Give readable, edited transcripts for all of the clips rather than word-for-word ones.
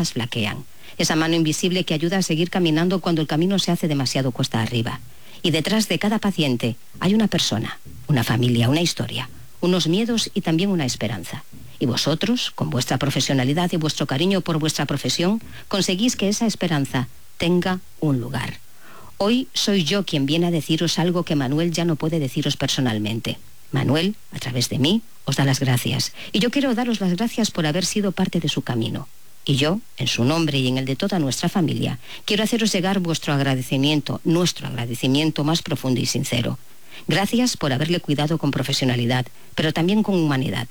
fuerzas flaquean. Esa mano invisible que ayuda a seguir caminando cuando el camino se hace demasiado cuesta arriba. Y detrás de cada paciente hay una persona, una familia, una historia, unos miedos y también una esperanza. Y vosotros, con vuestra profesionalidad y vuestro cariño por vuestra profesión, conseguís que esa esperanza tenga un lugar. Hoy soy yo quien viene a deciros algo que Manuel ya no puede deciros personalmente. Manuel, a través de mí, os da las gracias. Y yo quiero daros las gracias por haber sido parte de su camino. Y yo, en su nombre y en el de toda nuestra familia, quiero haceros llegar vuestro agradecimiento, nuestro agradecimiento más profundo y sincero. Gracias por haberle cuidado con profesionalidad, pero también con humanidad.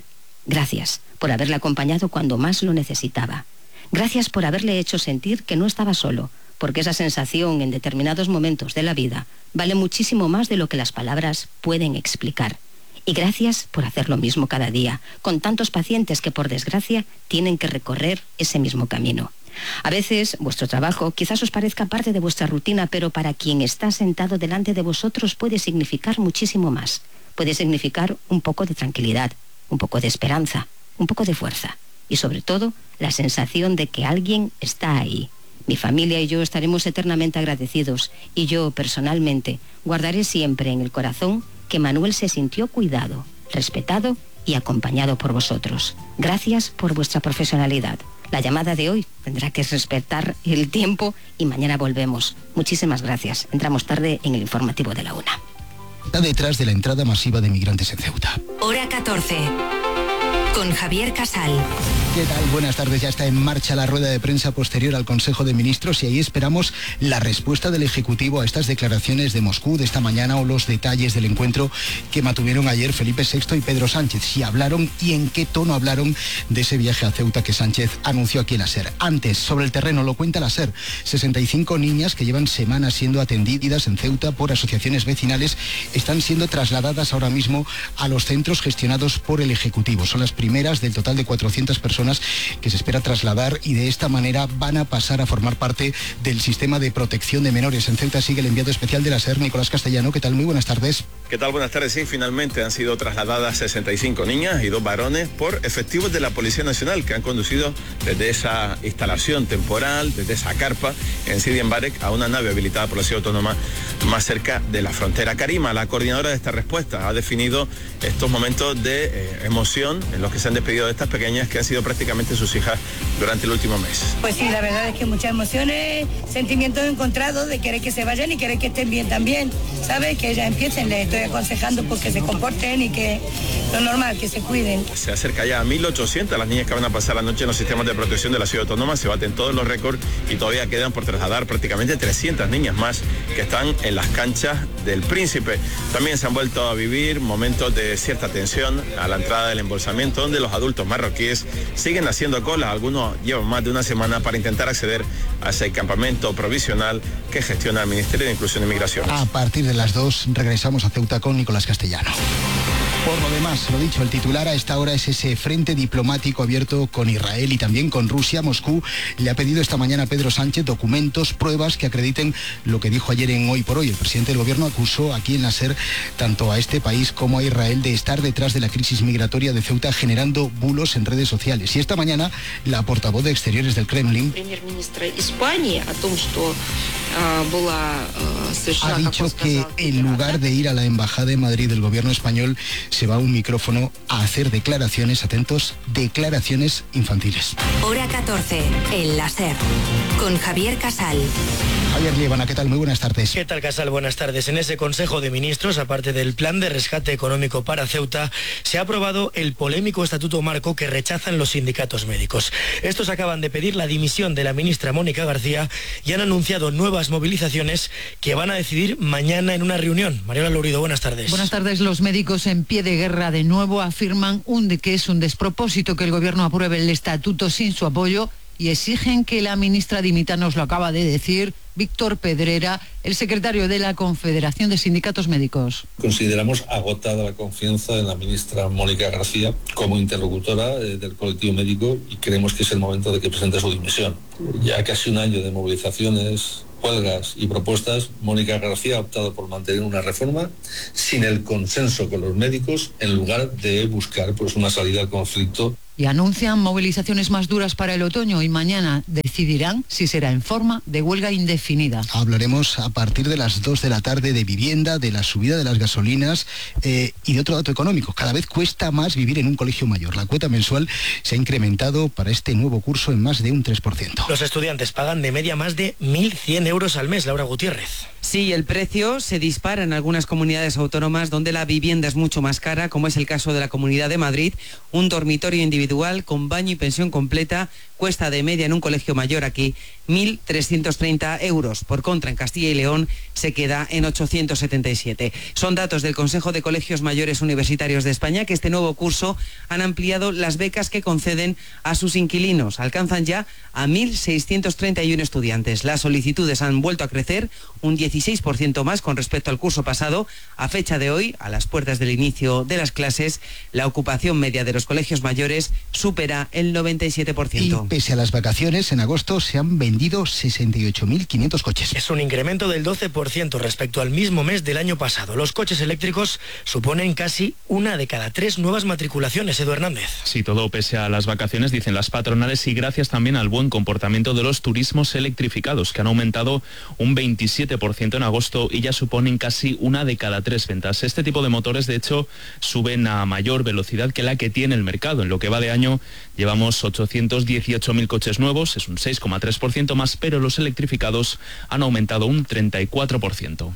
Gracias por haberle acompañado cuando más lo necesitaba. Gracias por haberle hecho sentir que no estaba solo, porque esa sensación en determinados momentos de la vida vale muchísimo más de lo que las palabras pueden explicar. Y gracias por hacer lo mismo cada día, con tantos pacientes que por desgracia tienen que recorrer ese mismo camino. A veces vuestro trabajo quizás os parezca parte de vuestra rutina, pero para quien está sentado delante de vosotros puede significar muchísimo más. Puede significar un poco de tranquilidad, un poco de esperanza, un poco de fuerza y sobre todo la sensación de que alguien está ahí. Mi familia y yo estaremos eternamente agradecidos y yo personalmente guardaré siempre en el corazón que Manuel se sintió cuidado, respetado y acompañado por vosotros. Gracias por vuestra profesionalidad. La llamada de hoy tendrá que respetar el tiempo y mañana volvemos. Muchísimas gracias. Entramos tarde en el informativo de la 1. Está detrás de la entrada masiva de migrantes en Ceuta. Hora 14. Con Javier Casal. ¿Qué tal? Buenas tardes. Ya está en marcha la rueda de prensa posterior al Consejo de Ministros y ahí esperamos la respuesta del Ejecutivo a estas declaraciones de Moscú de esta mañana o los detalles del encuentro que mantuvieron ayer Felipe VI y Pedro Sánchez. Si hablaron y en qué tono hablaron de ese viaje a Ceuta que Sánchez anunció aquí en la SER. Antes, sobre el terreno, lo cuenta la SER. 65 niñas que llevan semanas siendo atendidas en Ceuta por asociaciones vecinales están siendo trasladadas ahora mismo a los centros gestionados por el Ejecutivo. Son las primeras del total de 400 personas que se espera trasladar y de esta manera van a pasar a formar parte del sistema de protección de menores. En Ceuta sigue el enviado especial de la SER, Nicolás Castellano. ¿Qué tal? Muy buenas tardes. ¿Qué tal? Buenas tardes. Sí, finalmente han sido trasladadas 65 niñas y 2 varones por efectivos de la Policía Nacional que han conducido desde esa instalación temporal, desde esa carpa en Sidi Mbarek a una nave habilitada por la Ciudad Autónoma más cerca de la frontera. Karima, la coordinadora de esta respuesta, ha definido estos momentos de emoción en los que se han despedido de estas pequeñas que han sido prácticamente sus hijas durante el último mes. Pues sí, la verdad es que muchas emociones, sentimientos encontrados de querer que se vayan y querer que estén bien también, ¿sabes? Que ellas empiecen, les estoy aconsejando pues que se comporten y que lo normal, que se cuiden. Se acerca ya a 1.800 las niñas que van a pasar la noche en los sistemas de protección de la Ciudad Autónoma, se baten todos los récords y todavía quedan por trasladar prácticamente 300 niñas más que están en las canchas del Príncipe. También se han vuelto a vivir momentos de cierta tensión a la entrada del embolsamiento, donde los adultos marroquíes siguen haciendo cola. Algunos llevan más de una semana para intentar acceder a ese campamento provisional que gestiona el Ministerio de Inclusión y Migraciones. A partir de las 2 regresamos a Ceuta con Nicolás Castellano. Por lo demás, lo dicho, el titular a esta hora es ese frente diplomático abierto con Israel y también con Rusia. Moscú le ha pedido esta mañana a Pedro Sánchez documentos, pruebas que acrediten lo que dijo ayer en Hoy por Hoy. El presidente del gobierno acusó aquí en la SER tanto a este país como a Israel de estar detrás de la crisis migratoria de Ceuta, generando bulos en redes sociales. Y esta mañana la portavoz de Exteriores del Kremlin ha dicho que en lugar de ir a la embajada de Madrid del gobierno español se va a un micrófono a hacer declaraciones, atentos, declaraciones infantiles. Hora 14, en la SER, con Javier Casal. Javier Liébana, ¿qué tal? Muy buenas tardes. ¿Qué tal, Casal? Buenas tardes. En ese Consejo de Ministros, aparte del plan de rescate económico para Ceuta, se ha aprobado el polémico Estatuto Marco que rechazan los sindicatos médicos. Estos acaban de pedir la dimisión de la ministra Mónica García y han anunciado nuevas movilizaciones que van a decidir mañana en una reunión. Mariola Lourido, buenas tardes. Buenas tardes. Los médicos en pie de guerra de nuevo afirman que es un despropósito que el gobierno apruebe el estatuto sin su apoyo y exigen que la ministra dimita. Nos lo acaba de decir Víctor Pedrera, el secretario de la Confederación de Sindicatos Médicos. Consideramos agotada la confianza en la ministra Mónica García como interlocutora del colectivo médico y creemos que es el momento de que presente su dimisión. Ya casi un año de movilizaciones, huelgas y propuestas, Mónica García ha optado por mantener una reforma sin el consenso con los médicos en lugar de buscar una salida al conflicto. Y anuncian movilizaciones más duras para el otoño y mañana decidirán si será en forma de huelga indefinida. Hablaremos a partir de las 2 de la tarde de vivienda, de la subida de las gasolinas y de otro dato económico. Cada vez cuesta más vivir en un colegio mayor. La cuota mensual se ha incrementado para este nuevo curso en más de un 3%. Los estudiantes pagan de media más de 1.100 euros al mes, Laura Gutiérrez. Sí, el precio se dispara en algunas comunidades autónomas donde la vivienda es mucho más cara, como es el caso de la Comunidad de Madrid. Un dormitorio individual con baño y pensión completa cuesta de media en un colegio mayor aquí 1.330 euros. Por contra, en Castilla y León se queda en 877. Son datos del Consejo de Colegios Mayores Universitarios de España, que este nuevo curso han ampliado las becas que conceden a sus inquilinos. Alcanzan ya a 1.631 estudiantes. Las solicitudes han vuelto a crecer un 16% más con respecto al curso pasado. A fecha de hoy, a las puertas del inicio de las clases, la ocupación media de los colegios mayores supera el 97%. Y pese a las vacaciones, en agosto se han vendido 68.500 coches. Es un incremento del 12% respecto al mismo mes del año pasado. Los coches eléctricos suponen casi 1 de cada 3 nuevas matriculaciones. Edu Hernández. Sí, todo pese a las vacaciones, dicen las patronales, y gracias también al buen comportamiento de los turismos electrificados, que han aumentado un 27% en agosto y ya suponen casi 1 de cada 3 ventas. Este tipo de motores, de hecho, suben a mayor velocidad que la que tiene el mercado. En lo que va de año llevamos 818.000 coches nuevos, es un 6,3% más, pero los electrificados han aumentado un 34%.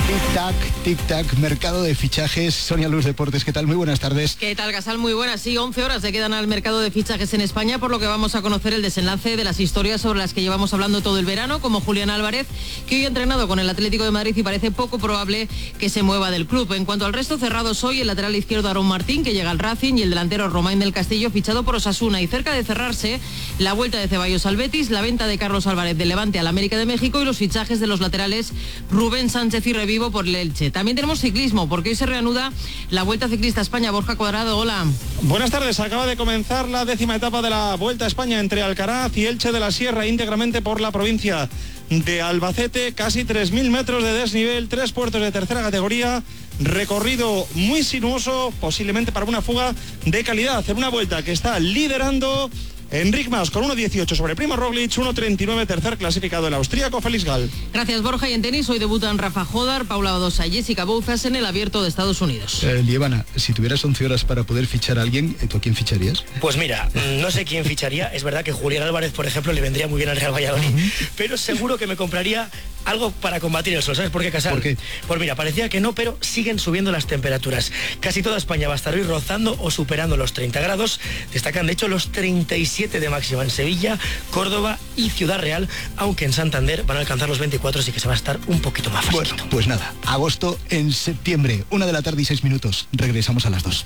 Tic-tac, tic-tac, mercado de fichajes. Sonia Luz Deportes, ¿qué tal? Muy buenas tardes. ¿Qué tal, Gasal? Muy buenas. Sí, 11 horas se quedan al mercado de fichajes en España, por lo que vamos a conocer el desenlace de las historias sobre las que llevamos hablando todo el verano, como Julián Álvarez, que hoy ha entrenado con el Atlético de Madrid y parece poco probable que se mueva del club. En cuanto al resto, cerrados hoy el lateral izquierdo Aarón Martín, que llega al Racing, y el delantero Romain del Castillo, fichado por Osasuna. Y cerca de cerrarse, la vuelta de Ceballos al Betis, la venta de Carlos Álvarez del Levante al América de México y los fichajes de los laterales Rubén Sánchez y Revivo por el Elche. También tenemos ciclismo, porque hoy se reanuda la Vuelta Ciclista a España. Borja Cuadrado, hola. Buenas tardes, acaba de comenzar la 10ª etapa de la Vuelta a España entre Alcaraz y Elche de la Sierra, íntegramente por la provincia de Albacete. Casi 3.000 metros de desnivel, 3 puertos de tercera categoría, recorrido muy sinuoso, posiblemente para una fuga de calidad, en una vuelta que está liderando Enric Mas con 1.18 sobre Primo Roglic, 1.39 tercer clasificado el austríaco Félix Gall. Gracias, Borja. Y en tenis hoy debutan Rafa Jodar, Paula Badosa y Jessica Bouzas en el Abierto de Estados Unidos. Lievana, si tuvieras 11 horas para poder fichar a alguien, ¿tú a quién ficharías? Pues mira, no sé quién ficharía. Es verdad que Julián Álvarez, por ejemplo, le vendría muy bien al Real Valladolid, pero seguro que me compraría algo para combatir el sol. ¿Sabes por qué, Casal? ¿Por qué? Pues mira, parecía que no, pero siguen subiendo las temperaturas. Casi toda España va a estar hoy rozando o superando los 30 grados. Destacan, de hecho, los 37 de máxima en Sevilla, Córdoba y Ciudad Real, aunque en Santander van a alcanzar los 24, así que se va a estar un poquito más fresquito. Bueno, pues nada, agosto en septiembre, 1:06 PM. Regresamos a las 2.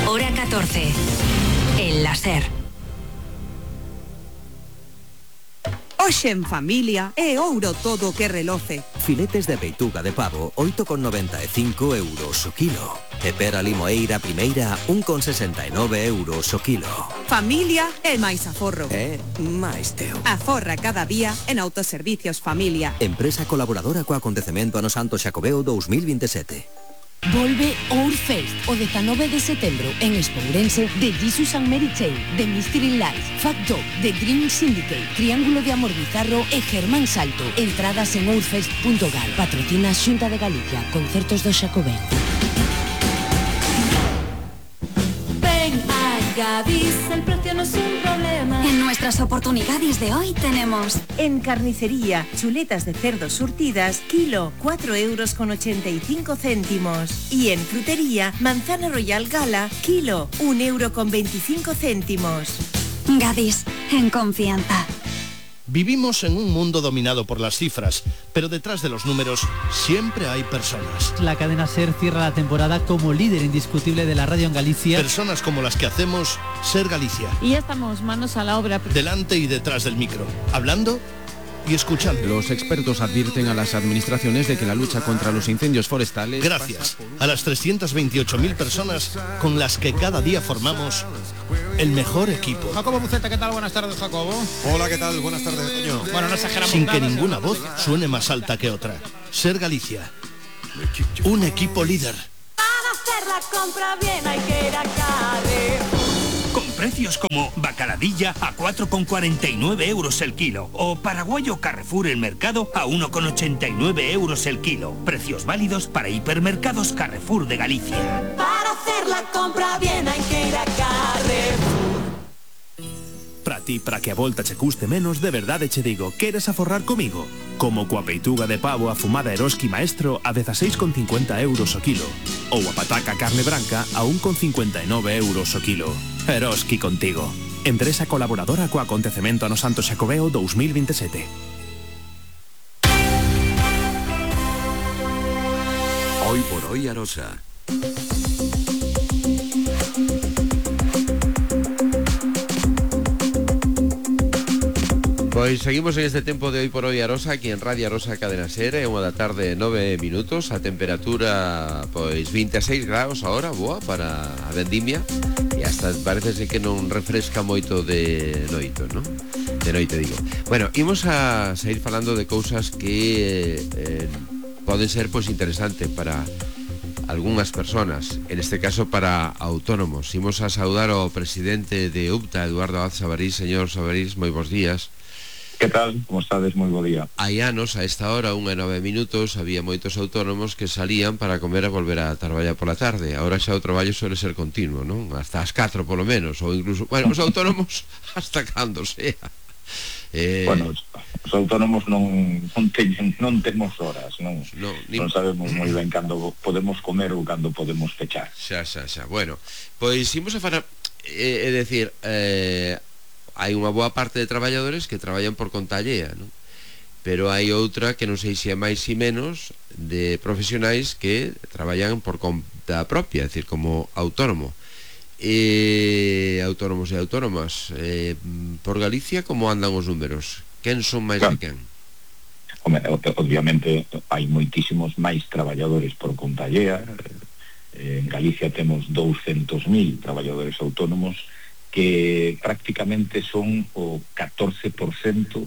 Hora 14. El láser. Hoxe en familia é ouro todo que reloce. Filetes de peituga de pavo, 8,95 euros o kilo. E pera limoeira primeira, 1,69 euros o kilo. Familia é máis aforro. máis teu. Aforra cada día en Autoservicios Familia. Empresa colaboradora co acontecemento ano Santo Xacobeo 2027. Volve Ourfest o 19 de setembro en Espourense de Jesus and Mary Chain, de Mystery Lights, Fat Dog, The Dream Syndicate, Triángulo de Amor Bizarro e Germán Salto. Entradas en ourfest.gal. Patrocina Xunta de Galicia. Concertos do Xacobeo. Ven a Gadis, el precio no es un problema. En nuestras oportunidades de hoy tenemos en carnicería, chuletas de cerdo surtidas, kilo, 4,85 €. Y en frutería, manzana Royal Gala, kilo, 1,25 €. Gadis, en confianza. Vivimos en un mundo dominado por las cifras, pero detrás de los números siempre hay personas. La cadena SER cierra la temporada como líder indiscutible de la radio en Galicia. Personas como las que hacemos SER Galicia. Y ya estamos manos a la obra. Delante y detrás del micro, hablando y escuchando. Los expertos advierten a las administraciones de que la lucha contra los incendios forestales... Gracias a las 328.000 personas con las que cada día formamos el mejor equipo. Jacobo Buceta, ¿qué tal? Buenas tardes, Jacobo. Hola, ¿qué tal? Buenas tardes, Toño. Bueno, no exageramos Sin nada, que ninguna voz suene más alta que otra. SER Galicia. Un equipo líder. hacer la compra bien hay que ir a Carrefour. Con precios como bacaladilla a 4,49 euros el kilo o paraguayo Carrefour El Mercado a 1,89 euros el kilo. Precios válidos para hipermercados Carrefour de Galicia. Para hacer la compra bien hay que ir a Carrefour. Para ti, para que a volta che custe menos, de verdade che digo, queres aforrar comigo? Como coa peituga de pavo afumada Eroski Maestro a 16,50 euros o kilo. Ou a pataca carne branca a 1,59 euros o kilo. Eroski contigo. Empresa colaboradora co acontecemento no Santo Xacobeo 2027. Hoy por hoy Arosa. Pois seguimos en este tempo de Hoy por Hoy Arosa, aquí en Radio Arosa Cadena Ser, é unha da tarde 9 minutos, a temperatura pois 26 graus ahora, boa para a vendimia, e hasta parece que non refresca moito de noito, non? De noite digo. Bueno, imos a seguir falando de cousas que poden ser pois interesantes para algunhas personas, en este caso para autónomos. Imos a saudar ao presidente de UPTA, Eduardo Abad Sabarís. Señor Sabarís, moi bons días. Que tal? Como estades? Moi bo día. Hai anos, a esta hora, 1:09, había moitos autónomos que salían para comer e volver a traballar pola tarde. Agora xa o traballo suele ser continuo, non? Hasta as 4 polo menos, ou incluso, bueno, os autónomos hasta cando sea. Bueno, os autónomos non temos horas, non sabemos moi ben cando podemos comer ou cando podemos fechar. Xa. Bueno, pois imos a falar, é dicir, hai unha boa parte de traballadores que traballan por conta allea, non? Pero hai outra que non sei se é máis e menos de profesionais que traballan por conta propia, é dicir, como autónomo. Autónomos e autónomas, por Galicia, como andan os números? Quen son máis de quen? Obviamente hai moitísimos máis traballadores por conta allea. En Galicia temos 200.000 traballadores autónomos que prácticamente son o 14%, o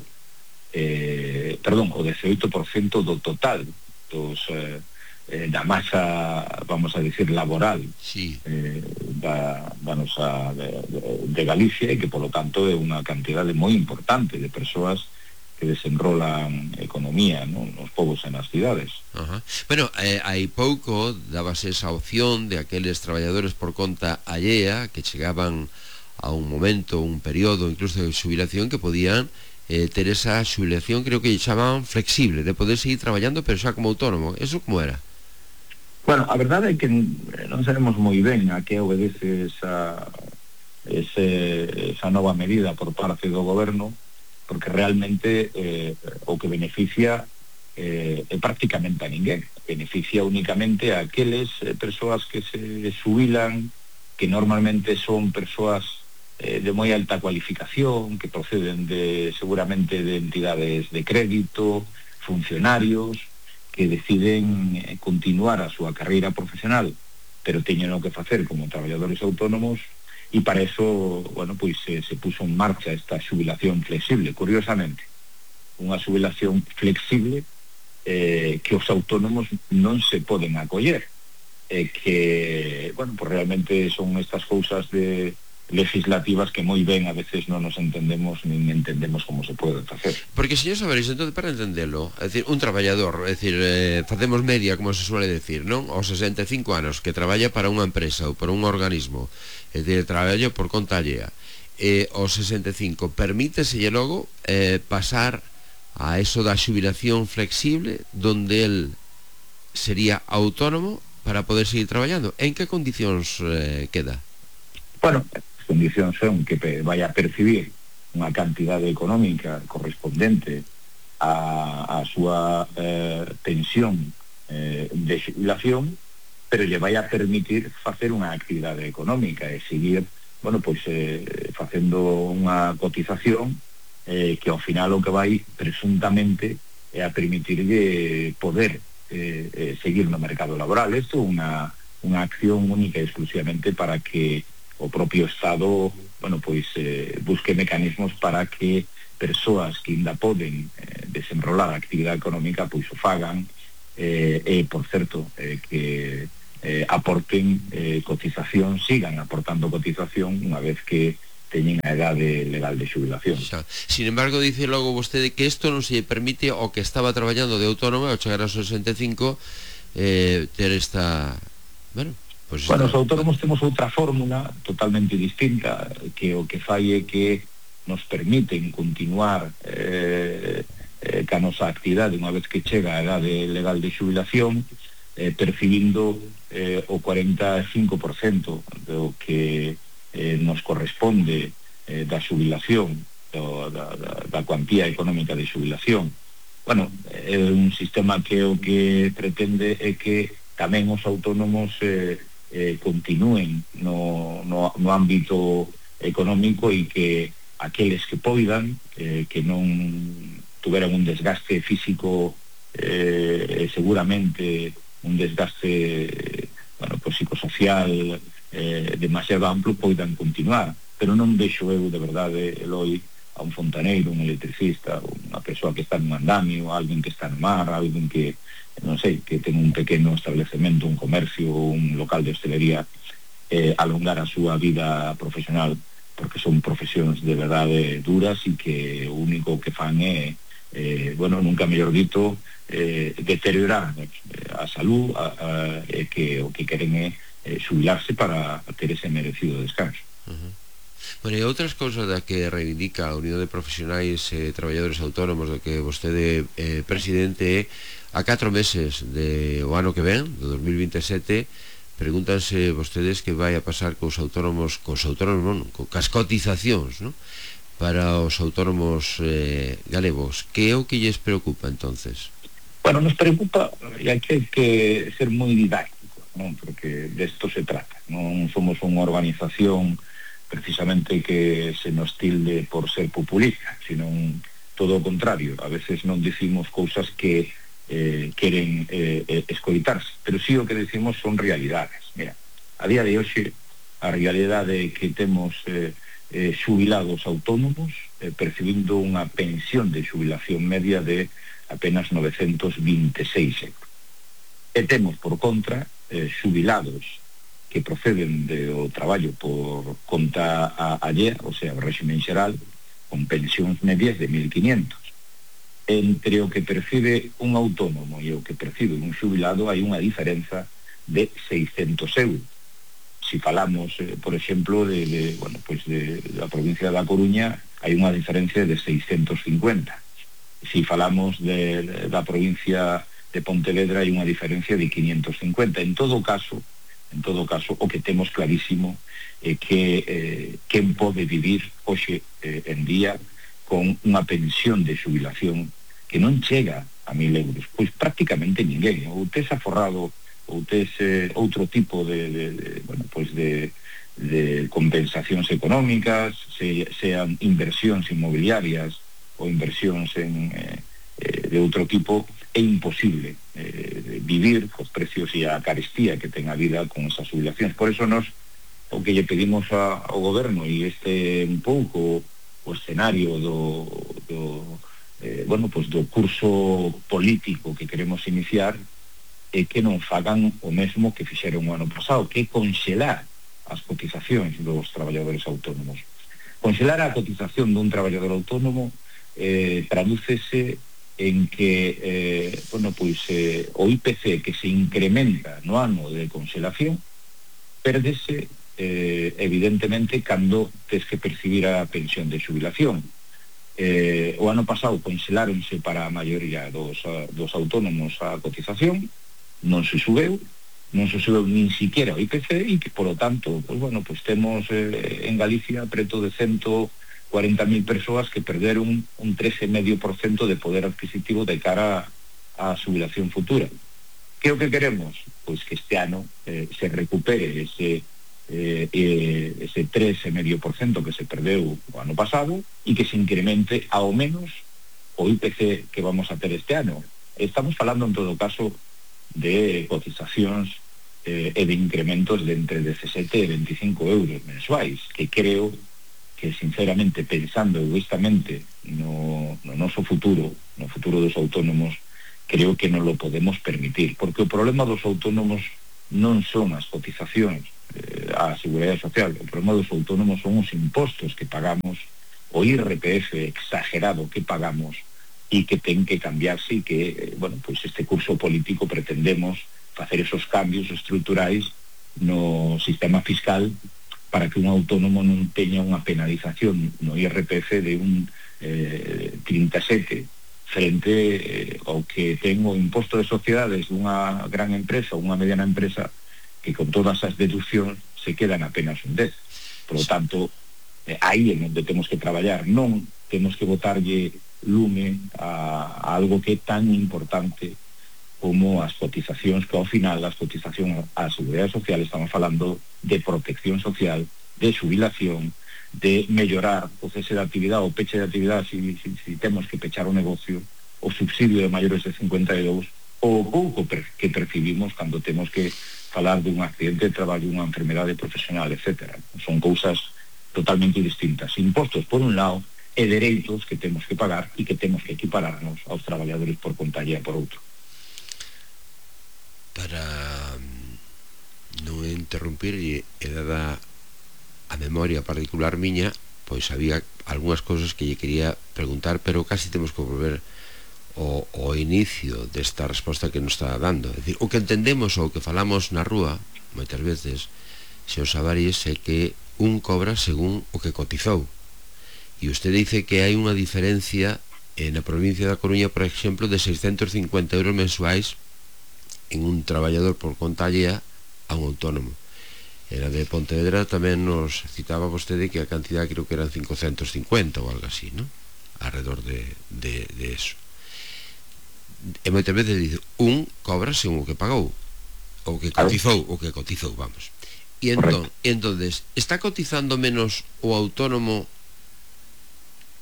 18% do total da masa, vamos a decir, laboral da nosa de Galicia, e que polo tanto é unha cantidade moi importante de persoas que desenrolan economía, non? Nos povos e nas cidades. Bueno, hai pouco dábase esa opción de aqueles traballadores por conta allea que chegaban a un momento, un período incluso de xubilación, que podían ter esa xubilación, creo que chamaban flexible, de poder seguir traballando pero xa como autónomo. Eso como era? Bueno, a verdade é que non sabemos moi ben a que obedece esa nova medida por parte do goberno, porque realmente o que beneficia é prácticamente a ninguén. Beneficia únicamente a aqueles persoas que se xubilan, que normalmente son persoas de moi alta cualificación, que proceden seguramente de entidades de crédito, funcionarios, que deciden continuar a súa carreira profesional, pero teñen o que facer como traballadores autónomos, e para eso, bueno, pois se puso en marcha esta xubilación flexible, curiosamente. Unha xubilación flexible que os autónomos non se poden acoller, que, bueno, pues realmente son estas cousas legislativas que moi ben a veces non nos entendemos, nin entendemos como se pode facer. Porque, señor Sabarís, entonces, para entendelo, é dicir, un traballador, é dicir, facemos media, como se suele decir, non? Aos 65 anos, que traballa para unha empresa ou para un organismo, é dicir, traballa por conta allea, aos 65, permíteselle logo pasar a eso da xubilación flexible, donde el sería autónomo para poder seguir traballando. En que condicións queda? Bueno, as condicións son que vai a percibir unha cantidade económica correspondente a súa pensión de xubilación, pero lle vai a permitir facer unha actividade económica e seguir, bueno, pois facendo unha cotización que ao final o que vai presuntamente é a permitirlle poder seguir no mercado laboral. Isto é unha acción única e exclusivamente para que o propio Estado, bueno, pois busque mecanismos para que persoas que ainda poden desenrolar a actividade económica pois o fagan, e por certo que aporten cotización, sigan aportando cotización unha vez que teñen a edade legal de xubilación. Sin embargo, dice logo vostede que isto non se permite o que estaba traballando de autónomo ao chegar aos 65 ter esta... Bueno, os autónomos temos outra fórmula totalmente distinta, que o que fai é que nos permiten continuar ca nosa actividade unha vez que chega a edade legal de xubilación, percibindo o 45% do que nos corresponde da xubilación, da cuantía económica de xubilación. Bueno, é un sistema que o que pretende é que tamén os autónomos continúen no ámbito económico e que aqueles que poidan, que non tuveran un desgaste físico, seguramente un desgaste psicosocial demasiado amplo, poidan continuar, pero non deixo eu de verdade, Eloi, a un fontaneiro, un electricista, unha persoa que está nun andamio, alguén que está no mar, alguén que, non sei, que ten un pequeno establecemento, un comercio, un local de hostelería, alongar a súa vida profesional, porque son profesións de verdade duras e que o único que fan é, nunca mellor dito, deteriorar a salud, que o que queren é xubilarse para ter ese merecido descanso. Bueno, e outras cousas da que reivindica a Unión de Profesionais e Traballadores Autónomos do que vostede presidente é a 4 meses do ano que ven, do 2027, pregúntanse vostedes que vai a pasar cos autónomos, cas cotizacións, non? Para os autónomos galegos. Que é o que lles preocupa entonces? Bueno, nos preocupa, e hai que ser moi didáctico, non? Porque desto se trata. Non somos unha organización precisamente que se nos tilde por ser populista, sino todo o contrario. A veces non dicimos cousas que queren escoitarse, pero sí o que decimos son realidades. Mira, a día de hoxe a realidade que temos xubilados autónomos percibindo unha pensión de xubilación media de apenas 926 euros. E temos, por contra, xubilados que proceden do traballo por conta allea, o sea, o réximen xeral, con pensións medias de 1.500. Entre o que percibe un autónomo e o que percibe un xubilado hai unha diferenza de 600 euros. Si falamos, por exemplo, da provincia da Coruña, hai unha diferencia de 650. Si falamos da provincia de Pontevedra, hai unha diferencia de 550. En todo caso, o que temos clarísimo é que quen pode vivir hoxe en día con unha pensión de xubilación que non chega a 1.000 euros, pois prácticamente ninguén. Ou tes aforrado, ou tes outro tipo de compensacións económicas, sean inversións inmobiliarias ou inversións de outro tipo, é imposible vivir cos precios e a carestía que ten a vida con esas xubilacións. Por eso nos o que lle pedimos ao goberno, e este un pouco o escenario do curso político que queremos iniciar, é que non fagan o mesmo que fixeron o ano pasado, que é conxelar as cotizacións dos traballadores autónomos. Conxelar a cotización dun traballador autónomo tradúcese en que o IPC que se incrementa no ano de conxelación pérdese evidentemente cando tes que percibir a pensión de xubilación. O ano pasado conxeláronse para a maioría dos autónomos a cotización, non se subeu nin siquiera o IPC, e que, polo tanto, temos en Galicia preto de 140.000 persoas que perderon un 13,5% de poder adquisitivo de cara á xubilación futura. Que é o que queremos? Pois que este ano se recupere ese 13,5% que se perdeu o ano pasado e que se incremente ao menos o IPC que vamos a ter este ano. Estamos falando en todo caso de cotizacións e de incrementos de entre 17 e 25 euros mensuais, que creo que sinceramente, pensando egoístamente no noso futuro, no futuro dos autónomos, creo que non lo podemos permitir, porque o problema dos autónomos non son as cotizacións á Seguridade Social. O problema dos autónomos son os impostos que pagamos, o IRPF exagerado que pagamos e que ten que cambiarse e que, bueno, pois este curso político pretendemos facer esos cambios estruturais no sistema fiscal para que un autónomo non teña unha penalización no IRPF de un 37 frente ao que ten o imposto de sociedades dunha gran empresa ou unha mediana empresa que con todas as deduccións se quedan apenas un 10. Por lo tanto, aí é onde temos que traballar, non temos que botarlle lume a algo que é tan importante como as cotizacións, que ao final as cotizacións á Seguridade Social estamos falando de protección social, de xubilación, de mellorar o cese de actividade, o peche de actividade si temos que pechar o negocio, o subsidio de maiores de 52, o pouco que percibimos cando temos que falar dun accidente de traballo, unha enfermedade profesional, etc. Son cousas totalmente distintas. Impostos por un lado e dereitos que temos que pagar e que temos que equipararnos aos traballadores por conta allea por outro. Para non interrumpir e dada a memoria particular miña, pois había algunhas cousas que lle quería preguntar, pero casi temos que volver ao inicio desta resposta que nos está dando. É dicir, o que entendemos ou o que falamos na rúa moitas veces, señor Savaris, é que un cobra según o que cotizou. E usted dice que hai unha diferencia na provincia da Coruña, por exemplo, de 650 euros mensuais en un traballador por conta allea a un autónomo. Era de Pontevedra tamén nos citaba vostede que a cantidad creo que eran 550 ou algo así, ¿no? Alrededor de eso. E moitas veces dice, un cobra según o que pagou, ou que cotizou, vamos. E entonces, está cotizando menos o autónomo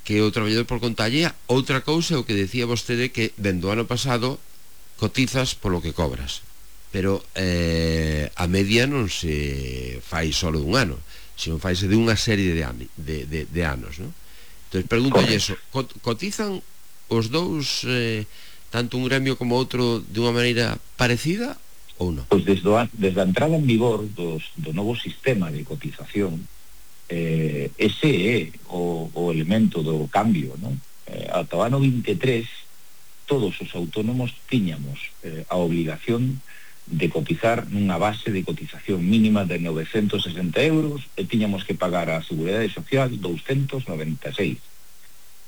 que o traballador por conta allea? Outra cousa é o que decía vostede, que dende o ano pasado cotizas polo que cobras, pero a media non se fai solo dun ano, sino faise de unha serie de anos, ¿no? Entón, pregúntolle eso, cotizan os dous, tanto un gremio como outro, de unha maneira parecida ou non? Pois desde a entrada en vigor do novo sistema de cotización, ese é o elemento do cambio, non? Ata o ano 23 todos os autónomos tiñamos a obligación de cotizar nunha base de cotización mínima de 960 euros e tiñamos que pagar a Seguridade Social 296.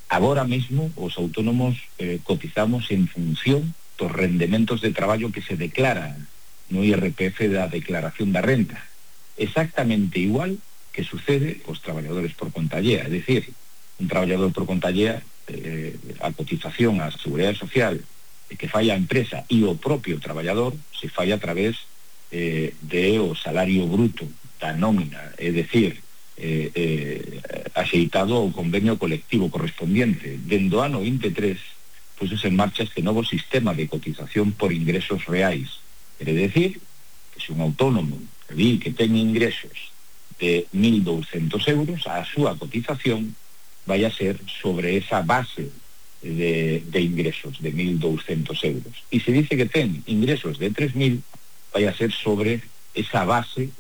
Agora mesmo os autónomos cotizamos en función dos rendementos de traballo que se declaran no IRPF da declaración da renta, exactamente igual que sucede cos traballadores por conta allea. É dicir, un traballador por conta allea, a cotización á Seguridade Social que fai a empresa e o propio traballador se fai a través de o salario bruto da nómina, é dicir, axeitado ao convenio colectivo correspondiente. Dende o ano 23 puxose en marcha este novo sistema de cotización por ingresos reais. Quere decir que se un autónomo di que ten ingresos de 1.200 euros, a súa cotización vai a ser sobre esa base de ingresos de 1.200 euros. E se dice que ten ingresos de 3.000, vai a ser sobre esa base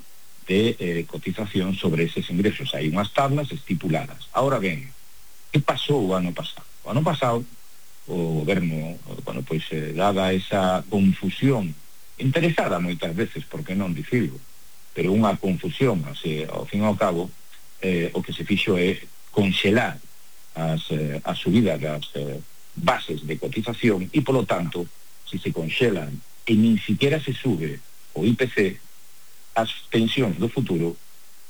de cotización sobre eses ingresos. Hai unhas tablas estipuladas. Ahora ben, que pasou o ano pasado? O ano pasado, o goberno, bueno, pois, dada esa confusión, interesada moitas veces, por que non dicirlo, pero unha confusión, así, ao fin e ao cabo, o que se fixo é conxelar a subida das bases de cotización e, polo tanto, se conxelan e nin siquiera se sube o IPC, as pensións do futuro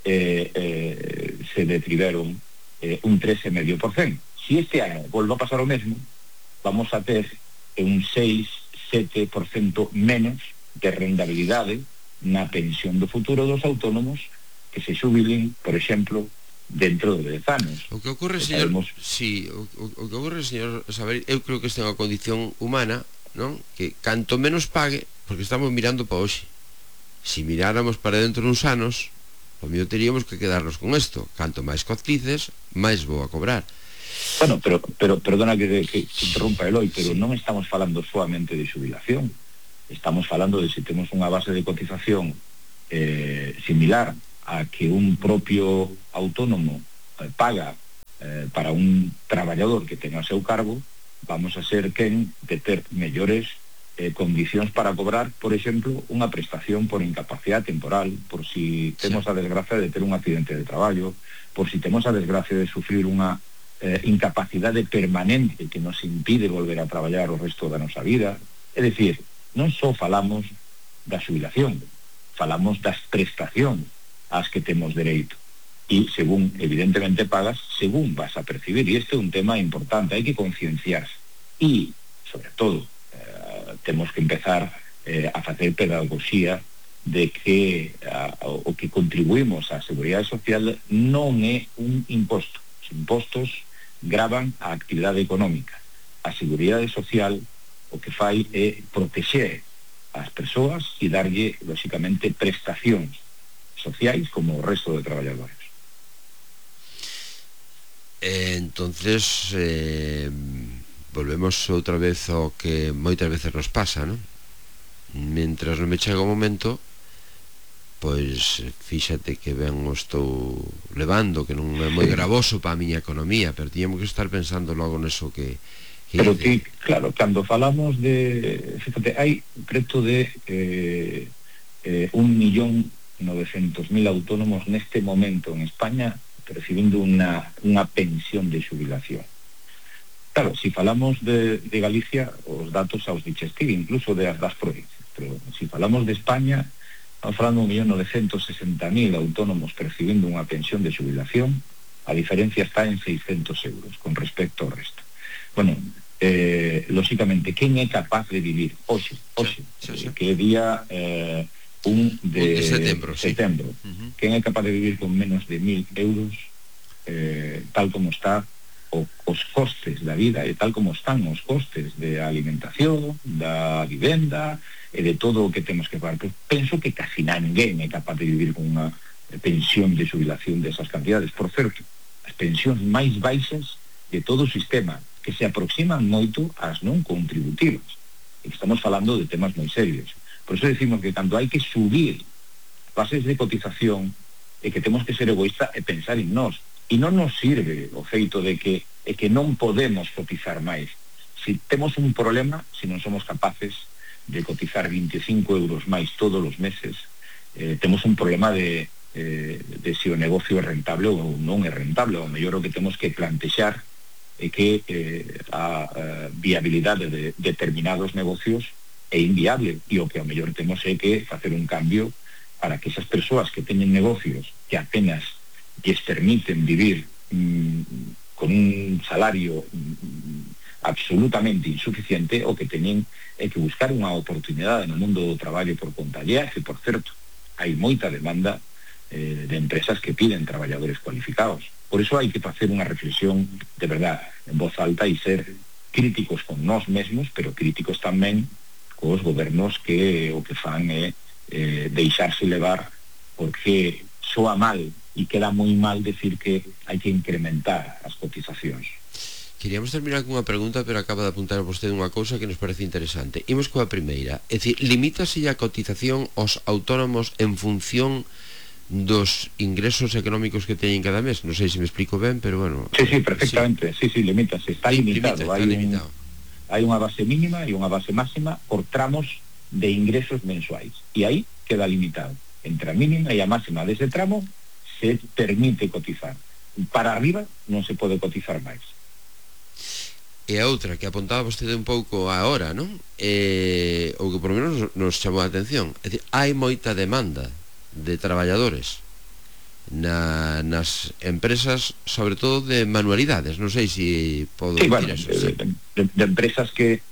se detriveron un 13,5%. Si este ano volve a pasar o mesmo, vamos a ter un 6-7% menos de rendabilidade na pensión do futuro dos autónomos que se xubilen, por exemplo, dentro de 10 anos. O que ocorre, señor, o que ocorre, señor Saber, eu creo que esta é unha condición humana, non? Que canto menos pague, porque estamos mirando para hoxe. Si miráramos para dentro uns anos, o mío teríamos que quedarnos con isto. Canto máis cotices, máis vou a cobrar. Bueno, pero perdona que interrompa Eloi, pero non estamos falando solamente de xubilación. estamos falando de se temos unha base de cotización similar a que un propio autónomo paga para un traballador que tenga o seu cargo, vamos a ser quen de ter mellores condicións para cobrar, por exemplo, unha prestación por incapacidade temporal, por si temos a desgracia de ter un accidente de traballo, por si temos a desgracia de sufrir unha incapacidade permanente que nos impide volver a traballar o resto da nosa vida. É dicir, non só falamos da xubilación, falamos das prestacións ás que temos dereito. E según, evidentemente, pagas, según vas a percibir. E este é un tema importante, hai que concienciarse. E, sobre todo, temos que empezar a facer pedagogía de que o que contribuímos á Seguridade Social non é un imposto. Os impostos gravan a actividade económica. A Seguridade Social o que fai é protexer as persoas e darlle, lóxicamente, prestacións sociais como o resto de traballadores. Entonces volvemos outra vez ao que moitas veces nos pasa, non? Mientras non me chega o momento, pois fíxate que ben o estou levando, que non é moi gravoso para a miña economía, pero tiñamos que estar pensando logo neso que pero que, claro, cando falamos de, fíjate, hai preto de 1.900.000 autónomos neste momento en España recibindo unha pensión de xubilación. Claro, si falamos de Galicia, os datos aos dichestir, incluso das provincias, pero si falamos de España, estamos falando de 1.960.000 autónomos percibindo unha pensión de xubilación, a diferencia está en 600 euros con respecto ao resto. Bueno, lóxicamente, quen é capaz de vivir hoxe, que é día 1 de setembro, quen é capaz de vivir con menos de 1.000 euros, tal como está os costes da vida e tal como están os costes de alimentación, da vivenda e de todo o que temos que pagar? Penso que casi ninguén é capaz de vivir con unha pensión de xubilación desas cantidades. Por certo, as pensións máis baixas de todo o sistema, que se aproximan moito ás non contributivas. E estamos falando de temas moi serios. Por iso decimos que cando hai que subir bases de cotización e que temos que ser egoísta e pensar en nós. E non nos sirve o feito de que non podemos cotizar máis. Si temos un problema, se non somos capaces de cotizar 25 euros máis todos os meses, temos un problema de se o negocio é rentable ou non é rentable. O mellor o que temos que plantexar é que a viabilidade de determinados negocios é inviable, e o que ao mellor temos é que facer un cambio para que esas persoas que teñen negocios que apenas lles permiten vivir con un salario absolutamente insuficiente, o que teñen é que buscar unha oportunidade no mundo do traballo por conta allea, que, por certo, hai moita demanda de empresas que piden traballadores cualificados. Por iso hai que facer unha reflexión de verdad en voz alta e ser críticos con nós mesmos, pero críticos tamén cos gobernos que o que fan é deixarse levar, porque soa mal e queda moi mal decir que hai que incrementar as cotizacións. Queríamos terminar con unha pregunta, pero acaba de apuntar a vostede unha cousa que nos parece interesante. Imos coa primeira, é dicir, limítase a cotización aos autónomos en función dos ingresos económicos que teñen cada mes? Non sei se me explico ben, pero bueno... Sí, perfectamente, sí, limítase, está limitado. Hai unha base mínima e unha base máxima por tramos de ingresos mensuais, e aí queda limitado. Entre a mínima e a máxima dese tramo se permite cotizar. Para arriba non se pode cotizar máis. E a outra que apuntaba vostede un pouco agora, non? O que por lo menos nos chamou a atención, é dicir, hai moita demanda de traballadores nas empresas, sobre todo de manualidades. Non sei se podo dicir eso. De empresas que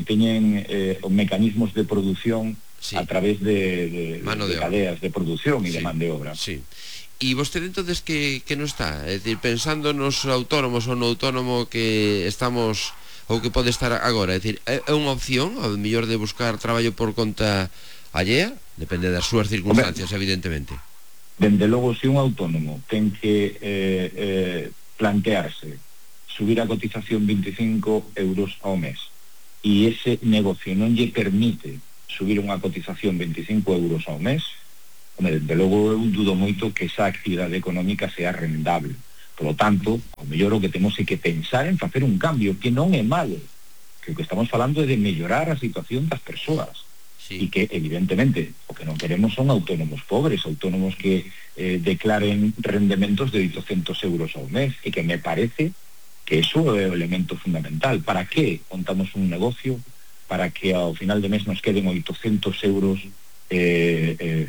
teñen mecanismos de produción a través de cadeas de produción e de man de obra. Sí. E vostede entonces que non está? É dicir, pensando nos autónomos ou no autónomo que estamos ou que pode estar agora, é dicir, é unha opción ao mellor de buscar traballo por conta allea? Depende das súas circunstancias, evidentemente. Dende logo, se un autónomo ten que plantearse subir a cotización 25 euros ao mes e ese negocio non lle permite subir unha cotización 25 euros ao mes, de logo eu dudo moito que esa actividade económica sea rendable. Por lo tanto, ao mellor o que temos é que pensar en facer un cambio, que non é malo, que o que estamos falando é de mellorar a situación das persoas. E que, evidentemente, o que non queremos son autónomos pobres, autónomos que declaren rendementos de 800 euros ao mes, e que me parece que eso é o elemento fundamental. Para que montamos un negocio? Para que ao final de mes nos queden 800 euros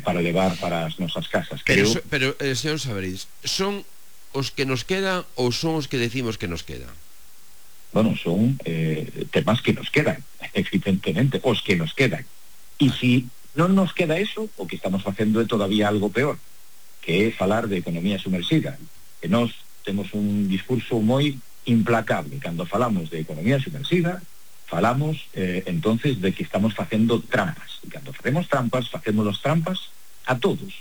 para levar para as nosas casas. Pero señor Sabarís, son os que nos quedan ou son os que decimos que nos quedan? Bueno, son temas que nos quedan, evidentemente, os que nos quedan. E se non nos queda eso, o que estamos facendo é todavía algo peor, que é falar de economía sumerxida. E nós temos un discurso moi implacable. Cando falamos de economía sumerxida, falamos entonces de que estamos facendo trampas. E cando facemos trampas trampas a todos.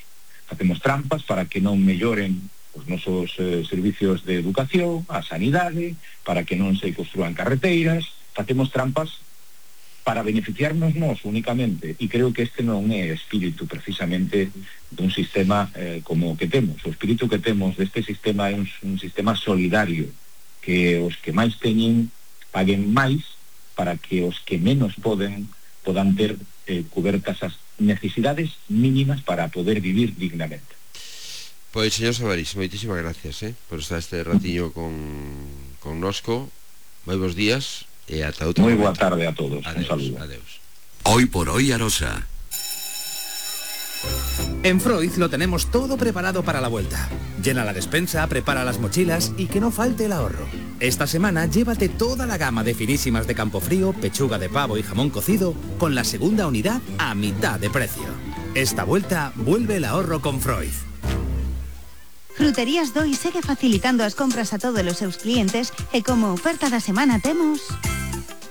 Facemos trampas para que non melloren os nosos servicios de educación, a sanidade, para que non se construan carreteiras. Facemos trampas para beneficiarnos nós únicamente, e creo que este non é espírito precisamente dun sistema como o que temos. O espírito que temos deste sistema é un sistema solidario, que os que máis teñen paguen máis para que os que menos podan ter cubertas as necesidades mínimas para poder vivir dignamente. Pois, señor Sabarís, moitísimas gracias por estar este ratiño con nosco. Moi bons días. E ata outro moi momento. Boa tarde a todos. Adeus, un saludo. Adeus. Hoy por hoy Arosa. En Freud lo tenemos todo preparado para la vuelta. Llena la despensa, prepara las mochilas y que no falte el ahorro. Esta semana llévate toda la gama de finísimas de Campofrío, pechuga de pavo y jamón cocido con la segunda unidad a mitad de precio. Esta vuelta vuelve el ahorro con Freud. Fruterías Doi segue facilitando as compras a todos os seus clientes e como oferta da semana temos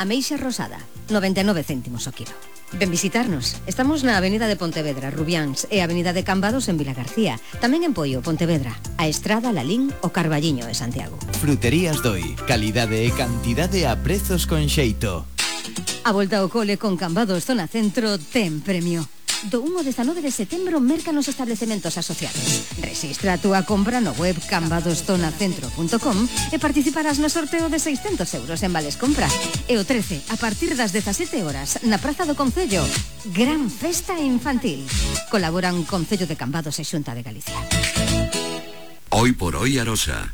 ameixa rosada, 99 céntimos o kilo. Ven visitarnos. Estamos na Avenida de Pontevedra, Rubiáns e Avenida de Cambados en Vilagarcía. Tamén en Poio, Pontevedra, a Estrada, Lalín o Carballiño de Santiago. Fruterías Doi, calidade e cantidade a prezos con xeito. A volta ao cole con Cambados Zona Centro ten premio. Do 1 ao 19 de setembro merca nos establecementos asociados. Registra a túa compra no web cambadostonacentro.com e participarás no sorteo de 600 euros en vales compra. E o 13, a partir das 17 horas, na Praza do Concello, gran festa infantil. Colaboran Concello de Cambados e Xunta de Galicia. Hoy por hoy Arosa.